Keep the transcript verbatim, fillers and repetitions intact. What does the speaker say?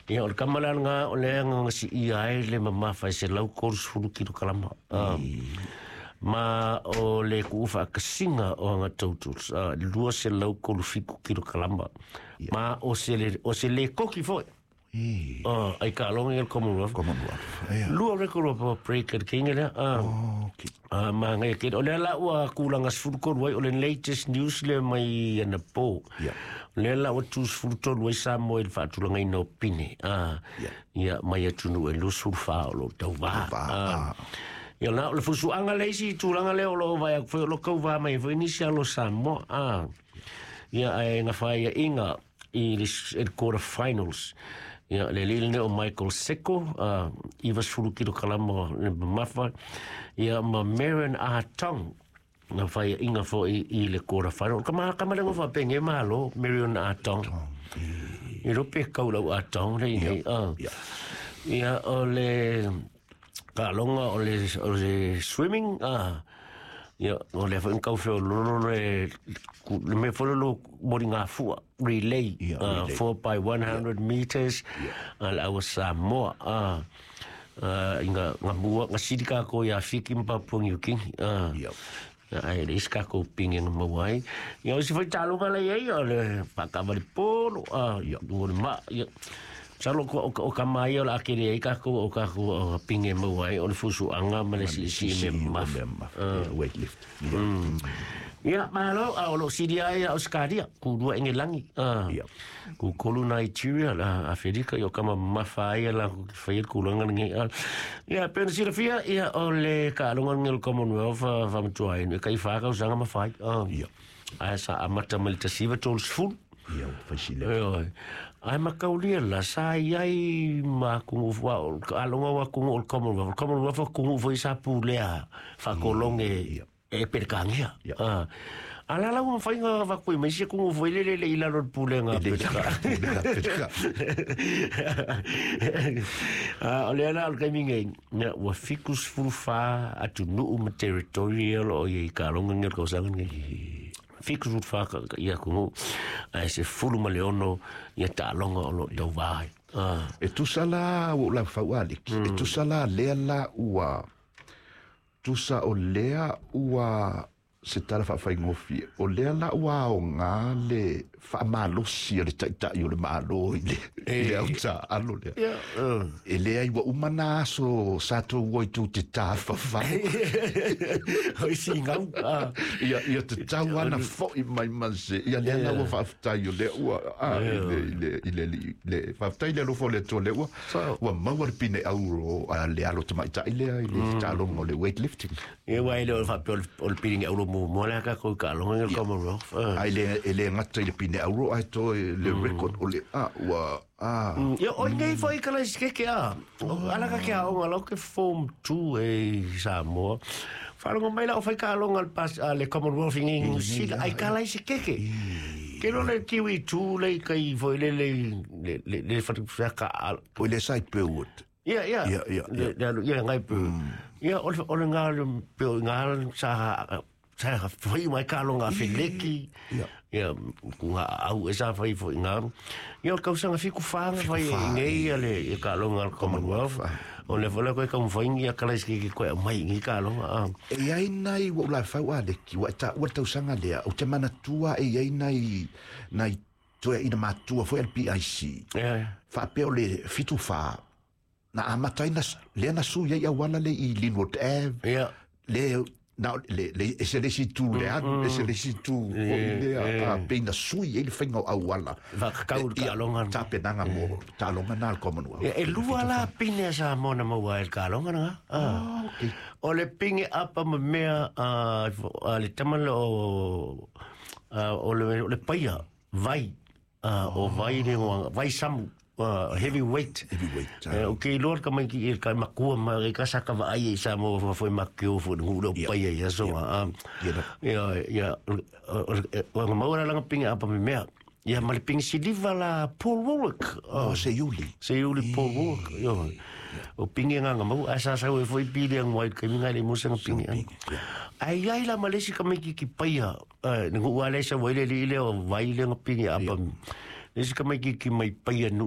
Ia o le kama le alaga o le agagasiia ai le mamafa e selau tolusefulu kilokalama a ma o le ku'u faakasiga o aga totals a lua selau tolu fitu kilokalama ma o se le o se lekoki fo'i ai taaloga ia le Commonwealth. Commonwealth. Ia. Lua record o break le keinga lea a Okay. a magaia tele o lea la ua kulaga sefulu tolu ai o le latest news lea mai anapo. Ia. O lea la ua tu sefulu tolu ai Samoa i le faatulagaina o pine a Ia. ia mai atunuu e lusefulu fa o loo tauvā. Tauvā, a ah. Ia la o le fusuaga le isi tulaga lea o loo vaai atu foi o lo kauvā mai foi nisi alo Samoa a ia ae gafaiaʻiga i le s- i le quarter finals ia le alii lenei o Michael Seko a ivasefulu kilokalama le mamafa ia ma Marion Atong na faiaʻiga foi i le quarter final kama kama le ngofa penge malo Marion Atong i lo pe kau lau Atong le nei a Ia. ia o le taaloga o le o le swimming a ia o le foi kau feo lolo le ku- le mea foi lolo moli ngā fua relay. Ia, uh, relay. four by one hundred meters a le aua Samoa a uh, inga nga mua nga sili kākou ia Fiki ma Papua New Guinea a Ia. ai le isi kākou pinge na maua ai ia o si foi taaloga le ai o le faakavale polo a ia o le ma ia Salo ko o, o ka mai o la akere ai kākou o kākou o pinge maua ai o le fusuaga ma le siisii me mafa. Mamafa. Weight lift. Ia. Ia, malo, a o lo sili ai a Australia, ku lua Engelangi, ah, Ia. ku kolu Nigeria, la Afrika, i o kama mafa ai la ku whai kulaga lenei. Ah. Ia, pena silafia, ia o le taaloga lenei o le Commonwealth, ah, whamatua ai, e kai whākau sanga mawhai. Ah. Ia. Ai sa amata mai le tasiva tolu sefulu. Ia, faisile. Oi, ai makaulia la sa iai ma kungu wa alonga wa kungu o le Commonwealth. Commonwealth o kungu foi sa pulea whakolonge e perekangia. Ia. Ah. Ala la ua whainga wakui mai se kungu foi le le le ila lo pulenga Le pereka. pulega pereka. Ah, o le ala o le kaimi ngei, na ua fiku sefulu fa atunuu ma territorial o i taaloga ngi o le kausaga nei. Fiku sefulu fa ka- ka- ia kungu, ai se fulu ma le ono ia taaloga o lo tauvā ai. Ah. E tusa la ua ou laufau aliki. E tusa la lea la ua tusa o lea ua se tala faafaigofie o lea la ua aogā le faamalosi a le taʻitaʻi o le malo i le, i le autaalo lea. Ia, uh. E lea ai ua uma na aso sa tou oi tou te tāfafau. Oi singau. Ah. Ia ia te tau ana fo'i mai ma se ia lea la ua faafetai o lea ua a i le i le i le i le faafetai le alofa o le Atua lea ua ua maua le pine auro a le alo tamaita'i lea i le taaloga o le weightlifting. Ia wai le o le faapea o le- o le piringa ulo mu mo le ka ko ka longa le Commonwealth. Ah. Ai le e le gata i le pine auro ai toe le record o le a ua a Ia oi nei foi ka lai ke ke a. Ala ka ke a onga lo ke form two e Samoa. Whalongo mai la o whai ka longa le pas a le Commonwealth i New Zealand ai ka lai se keke. Ke lo le Kiwi two le kai foi le le le le le wha ka O le sai Pewood. Ia, ia. Ia, ia, ia. Le le ia ngai pu. Ia o le o le ngā le pe o ngā sa sa whai mai ka longa feleki. Ia. Ia ku ngā au e sa whai fo ngā. Ia o kausanga fiku whanga whai whā, i ngei ia le i ka longa le Commonwealth. O le whala koe ka mwhaingi a kalais ki ki koe mai ngi ka longa. Ah. E iai nai ua ou laufau aleki ua e taʻua le tausaga lea ou te manatua e iai nai nai toeaʻina matua foi a le P I C Ia, ia. faapea o le fitu fā na amata ai na lea na sui ai auala le i Linwood Ave. Ia. Le na le le e se le si tu le alu e se le si tu foi lea a pe na sui ai le faiga o auala. Whakakau le taaloga. Tapenaga mo taaloga na le Commonwealth. Ia, e lua la pine a Samoa na maua ai le kaloga na. Ah. Okay. O le pinge apa ma mea a, a le tama le o, a, o le, o le paia, vai, a, o vai le ngoanga, vai samu, uh, heavyweight. Heavyweight, ah. Eh, o ke iloa ka mai ki e ka makua ma e ka saka va ai i Samoa fa foi makio fo ngu le Ia. paia ia so ah. Ia na. Ia ia o o maua la pinge apa ma mea. Ia ma le pinge siliva la Paul Warwick. O se iuli. Se iuli Paul Warwick. Yo. O pinge nganga mau asa sa we foi pili ang wai kai minga le musa nga pinge. Ai ai la malesi ka mai ki ki paia. Eh ngu wale sa wai le le o wai le nga pinge apa. Lesi ka mai ki ki mai paia nu.